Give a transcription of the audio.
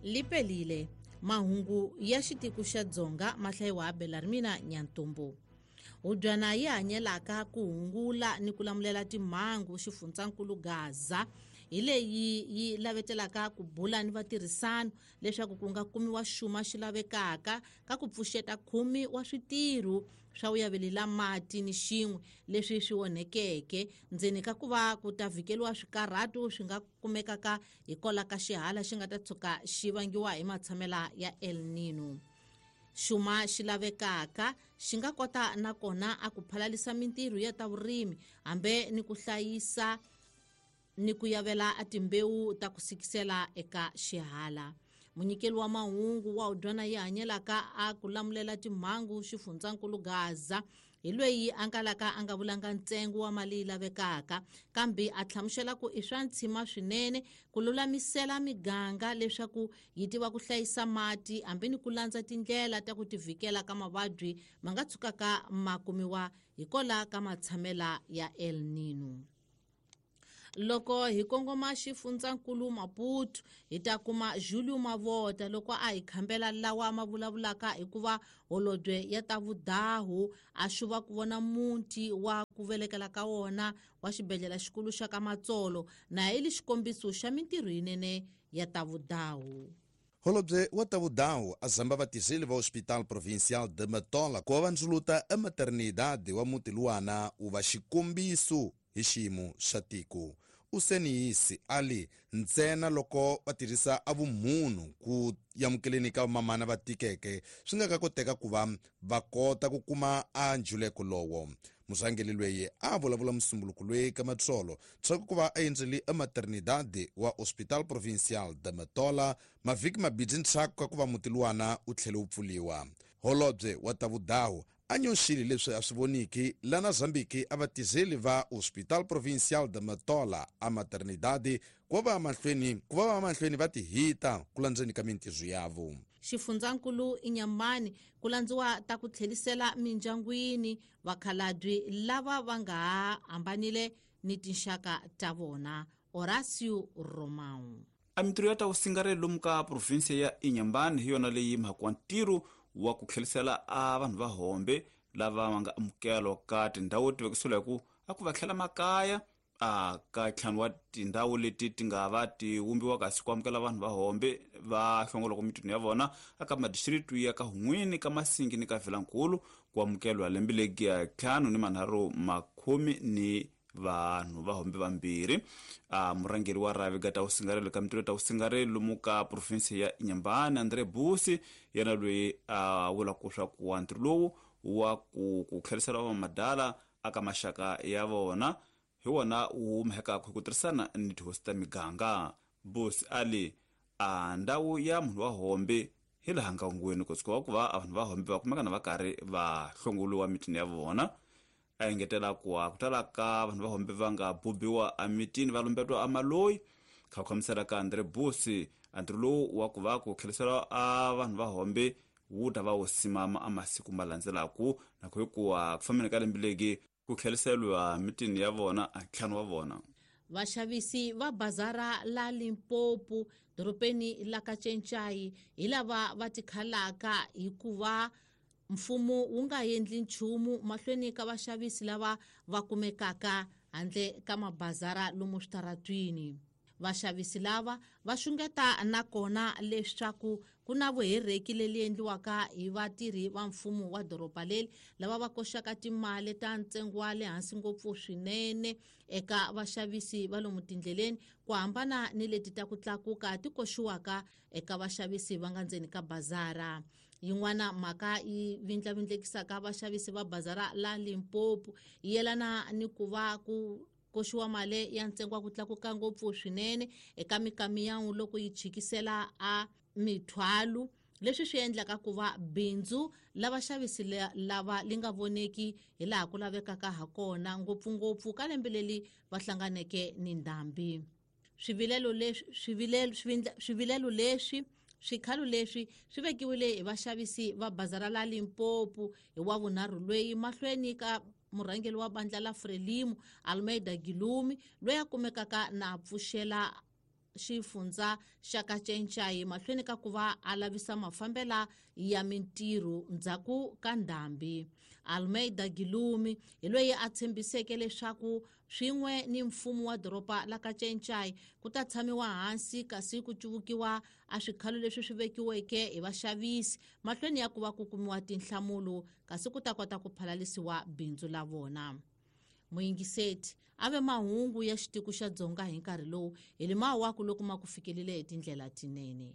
Lipelile mahungu ya xitiko xa Dzonga ma hlayiwa Belarmina Nyantumbu. Hubyana yi hanyelaka ku hungula ni ku lamulela timhangu xifundzankulu Gaza hi leyi yi lavetelaka ku bula ni vatirhisano leswaku ku nga kumiwa xuma xi lavekaka ka ku pfuxeta 10 wa switirho swa vuyavelela mati ni xin'we leswi swi onhekeke ndzeni ka ku va ku ta vhikeliwa swikarhatu swi nga kumekaka hikola ka xihala xi nga ta tshuka xi vangiwa hi matshamela ya El Nino. Xuma xi lavekaka xi nga kota nakona a ku phalalisa mintirho ya ta vurimi hambe ni ku hlayisa ni ku yavela a timbewu ta ku sikisela eka xihala. Munyikeli wa mahungu wa Hubyana yi hanyelaka a ku lamulela timhangu xifundzankulu Gaza hi loyi a ngalaka a nga vulanga ntsengo wa mali yi lavekaka kambe a hlamusela ku i swa ntshima swinene ku lulamisela miganga leswaku yi tiva ku hlayisa mati hambi ni ku landza tindlela ta ku tivikela ka mavabyi ma nga tshukaka ma kumiwa hikola ka matshamela ya El Nino. Loko hi kongoma xifundzankulu Maputo hi ta kuma Julio Mavota loko a hi khambela lawa ma vulavulaka hikuva holobye ya ta vudahu a xuva ku vona muti wa ku velekela ka wona wa xibedhlele xikulu xa ka Matsolo na hi li xikombiso xa mintirho yinene ya ta vudahu. Holobye wa ta vudahu a zamba vatirheli va Hospital Provincial de Matola ku va va ndzuluta a maternidade wa muti luwana wu va xikombiso hi xiyimo xa tiko. Useniyisi ali ntsena loko va tirhisa a vumunhu ku amukeleni ka vamamana va tikeke swi nga ka koteka ku va va kota ku kuma a njuleko lowo. Murhangeri loyi a vulavula musumbuluko loyi ka Matsolo tshaku ku va a endzele a maternidade wa Hospital Provincial de Matola mavhiki mabidzi ntshaku ka ku va muti luwana wu tlhele wu pfuliwa. Holobye wa ta vudahu a nyoxile leswi a swi voniki lana Zambiki a vatirheli va Hospital Provincial de Matola a maternidade ku va va mahlweni va tihita ku landzeni ka mintirho yavo. Xifundzankulu Inyamani ku landziwa ta ku tlhelisela mindyangwini vakhalabye lava va nga ha hambanile ni tinxaka ta vona. Horacio Romão. A mintirho ya ta vusingarelo lomu ka provinsia ya Inhambane hi yona leyi mhaka wa ntirho wa ku tlhelisela a vanhu va hombe lava va nga amukelwa ka tindhawu ti vekisiwa hi ku a ku va tlhela makaya a ka ntlhanu wa tindhawu leti ti nga va ti vumbiwa kasi ku amukela vanhu va hombe va hlongolaka mitini ya vona aka madistricts ya ka Hun'wini ka Masingi ni ka Vilankulu ku amukelwa lembe legi ya 5 ni ni vanhu va hombe vambirhi. A murhangeri wa rhavi ga ta vusingarelo ka mintirho ta vusingarelo lomu ka province ya Inhambane André Busi yena loyi a vulaka swa ku wa ntirho lowu wa ku tlherisela va madala aka maxaka ya vona hi wona wu humekaka hi ku tirhisana ni tihosi ta miganga. Busi ali a ndhawu ya munhu wa hombe hi laha nkangweni ku tshuka ku va vanhu va hombe va kumeka na va karhi va hlongoliwa mitini ya vona. A engetela ku a ku tala ka vanhu va hombe va nga bubiwa emitini va lumbetiwa amaloyi. Kha ku khamisela ka André Busi a ntirho lowu wa ku va ku tlherisela a vanhu va hombe wu ta va wu simama a masiku ma landzelaku na ku hikuva ku fambeni ka lembe legi ku tlheriseriwa mitini ya vona a ntlhanu wa vona. Vaxavisi va bazara la Limpopo dorobeni la ka Tšentšayi hi lava va tikhalaka hikuva mfumo wu nga endli nchumu mahlweni ka vaxavisi lava va kumekaka handle ka mabazara lomu switaratwini. Vaxavisi lava va xungeta nakona leswaku ku na vuhereki leli endliwaka hi vatirhi va mfumo wa doroba leri lava va koxaka timali ta ntsengo wa le hansi ngopfu swinene eka vaxavisi va lomu tindleleni ku hambana ni leti ta ku tlakuka ti koxiwaka eka vaxavisi va nga ndzeni ka bazara. Yin'wana mhaka yi vindlavindlekisaka vaxavisi va bazara la Limpopo yi yelana ni ku va ku koxiwa mali ya ntsengo wa ku tlakuka ngopfu swinene eka mikamiyawu loko yi chikisela a mithwalo, leswi swi endlaka ku va bindzu la vaxavisi lava li nga voneki hi laha ku lavekaka ha kona ngopfungopfu ka lembe leri va hlanganeke ni ndhambi. Swivilelo leswi swikhalo leswi swi vekiwile hi vaxavisi va bazara la Limpopo hi wa vunharhu loyi mahlweni ka murhangeri wa bandla la Frelimo Almeida Gilumi loyi a kumekaka na pfuxela xifundza xa Kacencai mahlweni ka ku va a lavisa mafambela ya mintirho ndzhaku ka ndhambi. Almeida Gilumi hi loyi a tshembiseke leswaku swin'we ni mfumo wa doroba la Kacencai ku ta tshamiwa hansi kasi ku cuvukiwa a swikhalo leswi swi vekiweke hi vaxavisi mahlweni ya ku va ku kumiwa tinhlamulo kasi ku ta kota ku phalalisiwa bindzu la vona. Muyingiseti a ve mahungu ya xitiko xa Dzonga hi nkarhi lowu hi limawaku loko ma ku fikelile hi tindlela tinene.